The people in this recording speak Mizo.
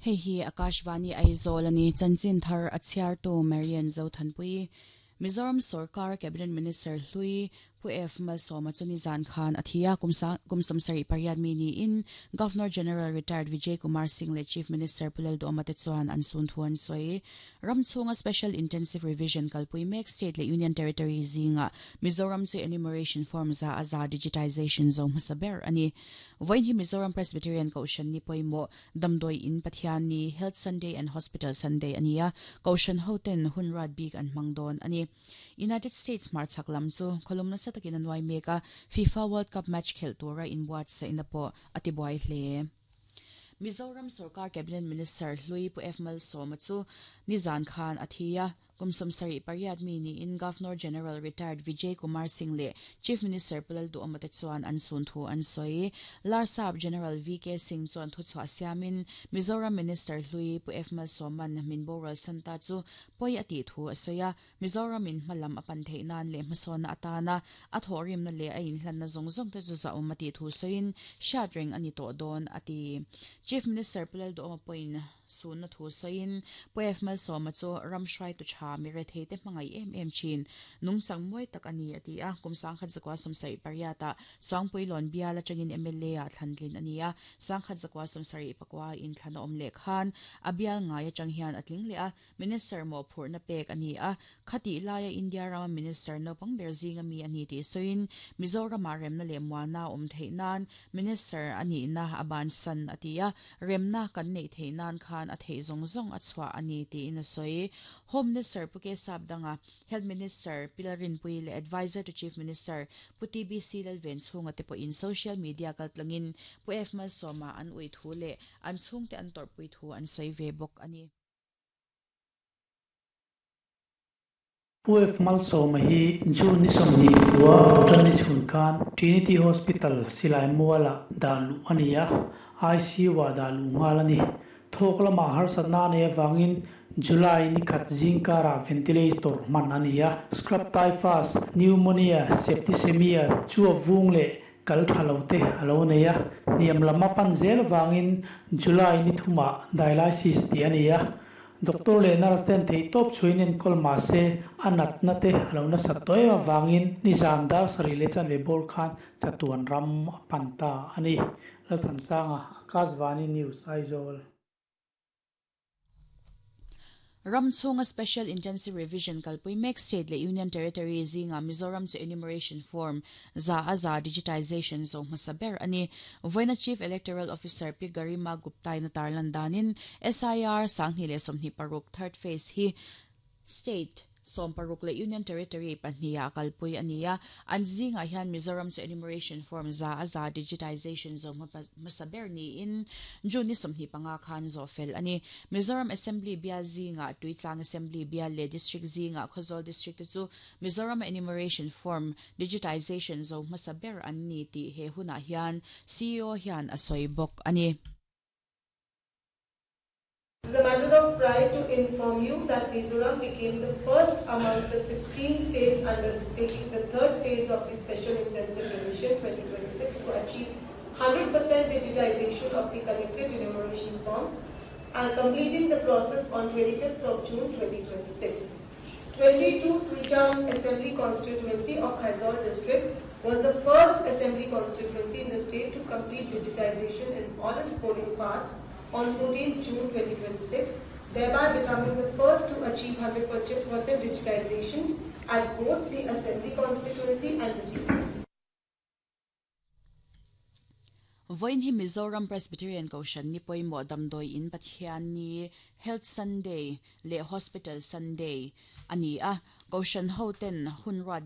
Hei hi Akashvani Aizawl a ni. Chanchin thar a chhiartu Marian Zothanpui. Mizoram sorkar Cabinet Minister hlui Pu F Malsawma chu nizan khan a thi a, kum 78 mi niin Governor General Retired Vijay Kumar Singh leh Chief Minister Pu Lalduhoma te chuan an sun thu an sawi. Ram chhunga Special Intensive Revision kalpui mek State leh Union Territory zingah Mizoram chu enumeration form za a za digitization zo hmasa ber a ni. Vawiin hi Mizoram Presbyterian Kohhran ni pawimawh Damdawi In Pathian ni, Health Sunday and Hospital Sunday a ni a, Kohhran hoten hun ruat bik an hmang dawn a ni. United States hmarchhak lam chu khawlum nasa takin a nuai mek a, FIFA World Cup match khelh tura inbuatsaihna pawh a tibuai hle. Mizoram sorkar Cabinet Minister hlui Pu F Malsawma chu nizan khan a thi a, Kum 78 mi niin Governor General Retired Vijay Kumar Singh leh Chief Minister Pu Lalduhoma te chuan an sun thu an sawi. Larsap General VK Singh chuan thuchhuah siamin Mizoram Minister hlui Pu F Malsawman min boral san ta chu pawi a tih thu a sawi a, Mizoram in hmalam a pan theih nan leh hmasawnna atana a thawhrimna leh a inhlanna zawng zawng te chu zahawm a tih thu sawiin hriat reng a ni tawh dawn a ti. Chief Minister Pu Lalduhoma pawhin Sunna thu sawiin Pu F Malsawma chu ram hruaitu tha mi rethei te hmangaih em em thin, nungchang mawi tak a ni a ti a. Kum 1978 ah Suangpuilawn bial atangin mla ah thlantlin a ni a, 1974 inthlan a awm leh khan a bial ngai atang hian a tling leh a, Minister mawhphurhna pek a ni a. Khatih laia India rama Minister naupang ber zinga mi a ni tih sawiin Mizoramah remna leh muana a awm theih nan Minister a nihna a bansan a ti a. Remna kan neih theih nan khan a theih zawng zawng a chhuah a ni tiin a sawi. Home Minister Pu K Sapdanga, Health Minister Pi Lalrinpuii leh Adviser to Chief Minister Pu TBC Lalvenchhunga te pawhin social media kaltlangin Pu F Malsawma an ui thu leh an chhungte an tawrhpui thu an sawi ve bawk a ni. Pu F Malsawma hi June ni 20 khua Thawhtan ni chhun khan Trinity Hospital silai mualah dah luh a ni a, ICU-ah dah luh nghal a ni. Thawk lamah harsatna a neih avangin July ni khat zingkarah ventilator hman a ni a, scrub typhus, pneumonia, septicemia, chuap vung leh kal tha lo te a lo nei a, hniam lam a pan zel avangin July ni thumah dialysis tih a ni a. Doctor leh nurse ten theihtawp chhuain enkawl mah se a natna te a lo nasat tawh em avangin nizan dar sarih leh chanve bawr khan chatuan ram a pan ta a ni. Lalthansanga, Akashvani News, Aizawl. Ram chhunga Special Intensive Revision kalpui mek State leh Union Territory zingah Mizoram chu enumeration form 100% digitization zo hmasa ber a ni. Vawiina Chief Electoral Officer Pi Garima Gupta-in a tarlan danin SIR 2026 third phase hi State 16 leh Union Territory pahniha kalpui a ni a, an zingah hian Mizoram chu enumeration form 100% digitization zo hmasa ber niin June ni 25 khan zawh fel a ni. Mizoram Assembly bial zingah Tuitlang Assembly bial leh District zingah Khawzawl District te chu Mizoram enumeration form digitization zo hmasa ber an ni tih he hunah hian CEO hian a sawi bawk a ni. It is a matter of pride to inform you that Mizoram became the first among the 16 states undertaking the third phase of the Special Intensive Revision 2026 to achieve 100% digitization of the collected enumeration forms and completing the process on 25th of June 2026. 22 Tuichang Assembly Constituency of Khawzawl District was the first assembly constituency in the state to complete digitization in all its polling parts on 14 June 2026, thereby becoming the first to achieve 100% digitization at both the assembly constituency and district. Vawiin hi Mizoram Presbyterian Kohhran ni pawimawh damdawi in Pathian ni, Health Sunday, leh Hospital Sunday a ni a, Kohhran hoten hun ruat.